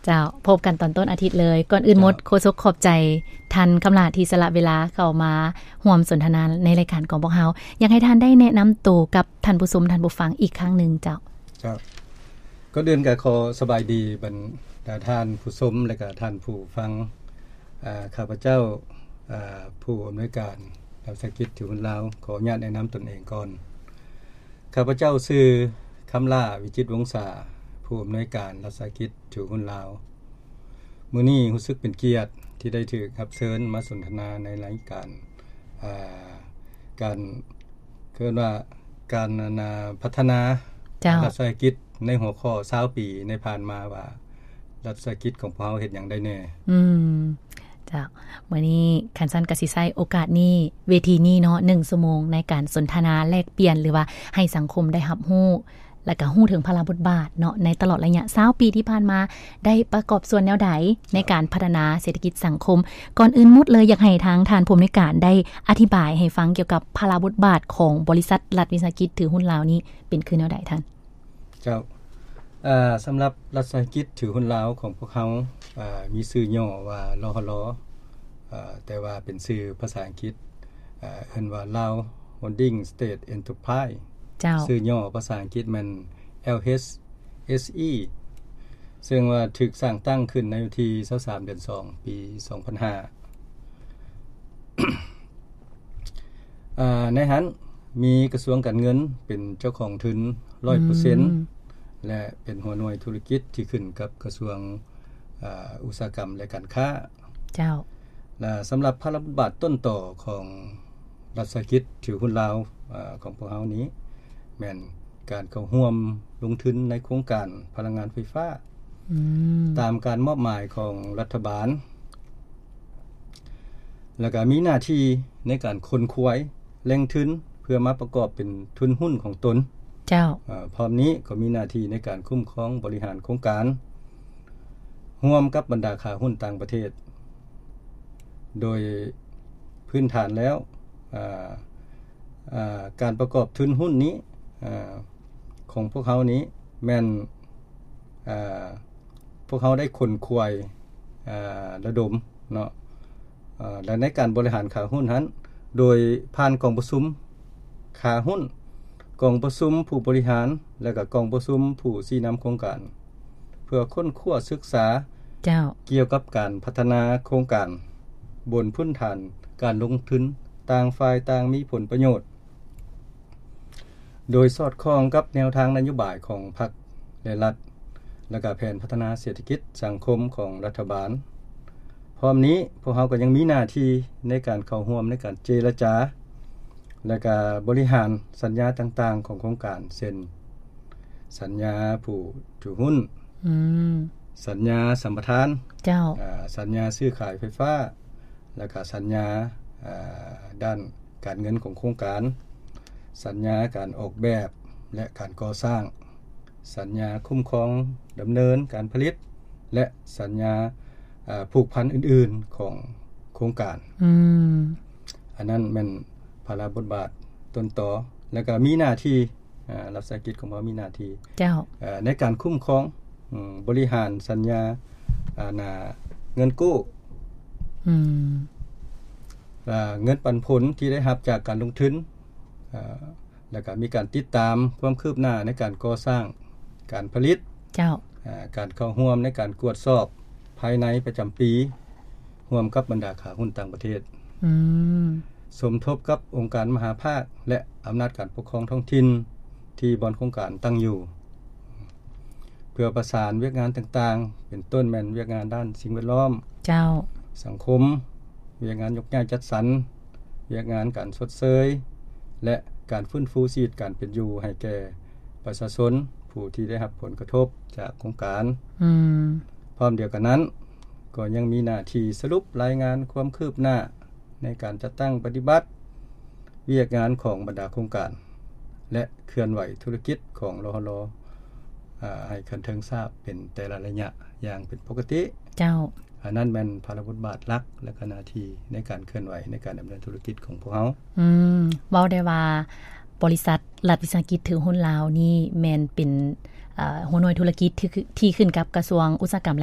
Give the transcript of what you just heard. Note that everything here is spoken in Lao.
ເຈົ້າ ພົບກັນຕອນຕົ້ນອາທິດເລີຍ. ກ່ອນອື່ນໝົດ ເຈົ້າ ໂຄສົກຂອບໃຈທ່ານຄຳຫຼ້າທີ່ສະຫຼະເວລາເຂົ້າມາຮ່ວມສົນທະນາໃນລາຍການຂອງພວກເຮົາ. ຢາກໃຫ້ທ່ານໄດ້ແນະນຳໂຕກັບທ່ານຜູ້ຊົມທ່ານຜູ້ຟັງອີກຄັ້ງໜຶ່ງເຈົ້າ. ເຈົ້າ ກ່ອນອື່ນກໍຂໍສະບາຍດີບັນດາທ່ານຜູ້ຊົມ ແລະກະທ່ານຜູ້ຟັງ. ອາ ຂ້າພະເຈົ້າ ອາ ຜູ້ອຳນວຍການລັດວິສາຫະກິດຖືຫຸ້ນລາວ ຂໍອະນຸຍາດແນະນຳຕົນເອງກ່ອນ. ຂ້າພະເຈົ້າຊື່ ຄຳຫຼ້າ ວິຈິດວົງສາ ຜູ້ອຳນວຍການລັດວິສາຫະກິດຖືຫຸ້ນລາວ. ມື້ນີ້ຮູ້ສຶກເປັນກຽດທີ່ໄດ້ຖືກຮັບເຊີນມາສົນທະນາໃນລາຍການ ອາ ການ ເອີ້ນວ່າການ ອັນ ອາ ພັດທະນາ ເຈົ້າ ລັດວິສາຫະກິດໃນຫົວຂໍ້ຊາວປີໃນຜ່ານມາວ່າ ລັດວິສາຫະກິດຂອງພວກເຮົາເຮັດຫຍັງໄດ້ແດ່. ອືມ ເຈົ້າ ມື້ນີ້ຄັນຊັ້ນກໍຊິໃຊ້ໂອກາດນີ້ ເວທີນີ້ເນາະ ໜຶ່ງຊົ່ວໂມງໃນການສົນທະນາແລກປ່ຽນ ຫຼືວ່າໃຫ້ສັງຄົມໄດ້ຮັບຮູ້ ແລະກະຮູ້ເຖິງພາລະບົດບາດເນາະ ໃນຕະຫຼອດໄລຍະຊາວປີທີ່ຜ່ານມາ ໄດ້ປະກອບສ່ວນແນວໃດໃນການພັດທະນາເສດຖະກິດສັງຄົມ. ກ່ອນອື່ນໝົດເລີຍ ຢາກໃຫ້ທາງທ່ານຜູ້ອຳນວຍການໄດ້ອະທິບາຍໃຫ້ຟັງກ່ຽວກັບພາລະບົດບາດຂອງບໍລິສັດລັດວິສາຫະກິດຖືຫຸ້ນລາວນີ້ເປັນຄືແນວໃດທ່ານ? ເຈົ້າ ເອີ ສຳລັບລັດວິສາຫະກິດຖືຫຸ້ນລາວຂອງພວກເຮົາ ເອີ ມີຊື່ຫຍໍ້ວ່າ ລຫລ ເອີ ແຕ່ວ່າເປັນຊື່ພາສາອັງກິດ ເອີ ເອີ້ນວ່າ Lao Holding State Enterprise ເຈົ້າ ຊື່ຫຍໍ້ພາສາອັງກິດແມ່ນ LHSE ເຊິ່ງວ່າຖືກສ້າງຕັ້ງຂຶ້ນໃນວັນທີຊາວສາມ ເດືອນສອງ ປີສອງພັນຫ້າ. ອາ ໃນຫັ້ນມີກະຊວງການເງິນເປັນເຈົ້າຂອງທຶນຮ້ອຍເປີເຊັນ ອືມ ແລະ ເປັນຫົວໜ່ວຍທຸລະກິດທີ່ຂຶ້ນກັບກະຊວງ ອາ ອຸດສາຫະກຳ ແລະ ການຄ້າ. ເຈົ້າ ແລະ ສຳລັບພາລະບົດບາດຕົ້ນຕໍຂອງລັດວິສາຫະກິດຖືຫຸ້ນລາວ ອາ ຂອງພວກເຮົານີ້ ແມ່ນການເຂົ້າຮ່ວມລົງທຶນໃນໂຄງການພະລັງງານໄຟຟ້າ ອືມ ຕາມການມອບໝາຍຂອງລັດຖະບານ ແລ້ວກະມີໜ້າທີ່ໃນການຂົນຂວາຍແຫຼ່ງທຶນ ເພື່ອມາປະກອບເປັນທຶນຫຸ້ນຂອງຕົນ. ເຈົ້າ ເອີ ພ້ອມນີ້ກໍມີໜ້າທີ່ໃນການຄຸ້ມຄອງບໍລິຫານໂຄງການ ຮ່ວມກັບບັນດາຂາຫຸ້ນຕ່າງປະເທດ. ໂດຍພື້ນຖານແລ້ວ ອາ ອາ ການປະກອບທຶນຫຸ້ນນີ້ ອາ ຂອງພວກເຮົານີ້ແມ່ນ ອາ ພວກເຮົາໄດ້ຂົນຂວາຍ ອາ ລະດົມເນາະ ອາ ແລະ ໃນການບໍລິຫານຂາຫຸ້ນຫັ້ນ ໂດຍຜ່ານກອງປະຊຸມຂາຫຸ້ນ, ກອງປະຊຸມຜູ້ບໍລິຫານ ແລະ ກະກອງປະຊຸມຜູ້ຊີ້ນຳໂຄງການ ເພື່ອຄົ້ນຄວ້າສຶກສາ ເຈົ້າ ກ່ຽວກັບການພັດທະນາໂຄງການບົນພື້ນຖານການລົງທຶນຕ່າງຝ່າຍຕ່າງມີຜົນປະໂຫຍດ ໂດຍສອດຄ່ອງກັບແນວທາງນະໂຍບາຍຂອງພັກ ແລະ ລັດ ແລະ ກະແຜນພັດທະນາເສດຖະກິດສັງຄົມຂອງລັດຖະບານ. ພ້ອມນີ້ ພວກເຮົາກໍຍັງມີໜ້າທີ່ໃນການເຂົ້າຮ່ວມໃນການເຈລະຈາ ແລະ ກະບໍລິຫານສັນຍາຕ່າງໆຂອງໂຄງການ ເຊັ່ນ ສັນຍາຜູ້ຖືຫຸ້ນ, ອືມ ສັນຍາສຳປະທານ, ເຈົ້າ ອາ ສັນຍາຊື້ຂາຍໄຟຟ້າ ແລະ ກະສັນຍາ ອາ ດ້ານການເງິນຂອງໂຄງການ, ສັນຍາການອອກແບບ ແລະ ການກໍ່ສ້າງ, ສັນຍາຄຸ້ມຄອງດຳເນີນການຜະລິດ ແລະ ສັນຍາ ອາ ຜູກພັນອື່ນໆຂອງໂຄງການ. ອືມ ອັນນັ້ນແມ່ນພາລະບົດບາດຕົ້ນຕໍ ແລະ ກະມີໜ້າທີ່ ອາ ລັດວິສາຫະກິດຂອງເຮົາມີໜ້າທີ່ ເຈົ້າ ເອີ ໃນການຄຸ້ມຄອງ ອາ ບໍລິຫານສັນຍາ ອາ ນາ ເງິນກູ້ ອືມ ອາ ເງິນປັນຜົນທີ່ໄດ້ຮັບຈາກການລົງທຶນ ອາ ແລ້ວກະມີການຕິດຕາມຄວາມຄືບໜ້າໃນການກໍ່ສ້າງການຜະລິດ ເຈົ້າ ອາ ການເຂົ້າຮ່ວມໃນການກວດສອບພາຍໃນປະຈຳປີ ຮ່ວມກັບບັນດາຂາຫຸ້ນຕ່າງປະເທດ ອືມ ສົມທົບກັບອົງການມະຫາພາກ ແລະ ອຳນາດການປົກຄອງທ້ອງຖິ່ນທີ່ບ່ອນໂຄງການຕັ້ງຢູ່ ເພື່ອປະສານວຽກງານຕ່າງໆ ເປັນຕົ້ນແມ່ນວຽກງານດ້ານສິ່ງແວດລ້ອມ ເຈົ້າ ສັງຄົມ, ວຽກງານຍົກຍ້າຍຈັດສັນ, ວຽກງານການຊົດເຊີຍ ແລະ ການຟື້ນຟູຊີວິດການເປັນຢູ່ໃຫ້ແກ່ປະຊາຊົນຜູ້ທີ່ໄດ້ຮັບຜົນກະທົບຈາກໂຄງການ. ອືມ ພ້ອມດຽວກັນນັ້ນ ກໍຍັງມີໜ້າທີ່ສະຫຼຸບລາຍງານຄວາມຄືບໜ້າໃນການຈັດຕັ້ງປະຕິບັດວຽກງານຂອງບັນດາໂຄງການ ແລະ ເຄື່ອນໄຫວທຸລະກິດຂອງ ລຫລ ອາ ໃຫ້ຂັ້ນເທິງຊາບເປັນແຕ່ລະໄລຍະຢ່າງເປັນປົກກະຕິ. ເຈົ້າ ອັນນັ້ນແມ່ນພາລະບົດບາດຫຼັກ ແລະ ກະໜ້າທີ່ໃນການເຄື່ອນໄຫວໃນການດຳເນີນທຸລະກິດຂອງພວກເຮົາ. ອືມ ເວົ້າໄດ້ວ່າບໍລິສັດລັດວິສາຫະກິດຖືຫຸ້ນລາວນີ້ແມ່ນເປັນ ເອີ ຫົວໜ່ວຍທຸລະກິດທີ່ ທີ່ຂຶ້ນກັບກະຊວງອຸດສາຫະກຳ